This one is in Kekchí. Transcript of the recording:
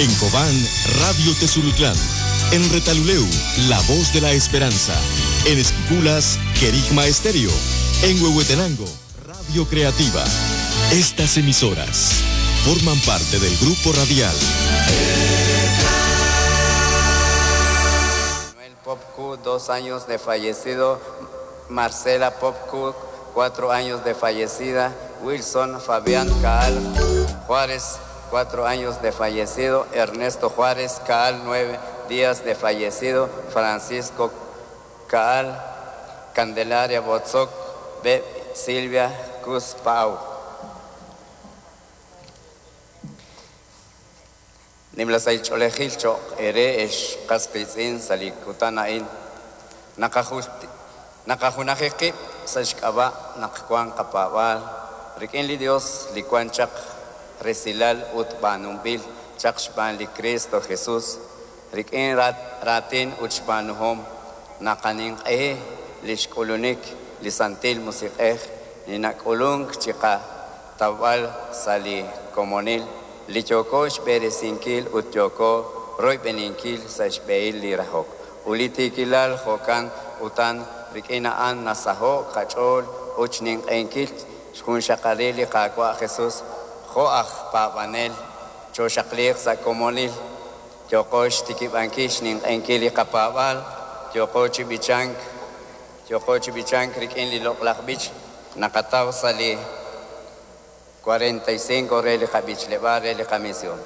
En Cobán, Radio Tezulutlán. En Retaluleu, La Voz de la Esperanza. En Esquipulas, Querigma Estéreo. En Huehuetenango, Radio Creativa. Estas emisoras forman parte del grupo radial. Manuel Popcu, 2 años de fallecido. Marcela Popcu, 4 años de fallecida. Wilson Fabián Caal Juárez, 4 años de fallecido. Ernesto Juárez Caal, 9 días de fallecido. Francisco Caal, Candelaria Botzoc, B. Silvia Cuspau. Nimla sahil ch'oolejil cho'q eere ex qas qiitz'in sa' li kutan a'in. Naqajunaji qib' sa' xk'ab'a' naq wank qapaab'aal rik'in li Dios li wan chaq resilal ut b'aanunb'il chaq xb'aan li Kristo Jesus. Rik'in raatin ut xb'aanuhom naqaninq'ehi li xk'ulunik li Santil Musiq'ej li nak'ulunk chiqatawb'al sa' li komonil li yooko xb'eresinkil ut yooko royb'eninkil sa' xb'ehil li rahok ut li tiikilal. Jo'kan utan, rik'in a'an nasaho'k qach'ool ut xninq'ehinkil xjunxaqalil li Qaawa' Jesus. Jo' aj paab'anel chooxaqliiq sa' komonil, yooqo xtikib'ankil xninq'ehinkil li qapaab'aal, yooqo chi b'ichank, yooqo chi b'ichank rik'in li loq'laj b'ich naqataw sa' li 45 re li qab'ichleb'aal re li qamisión.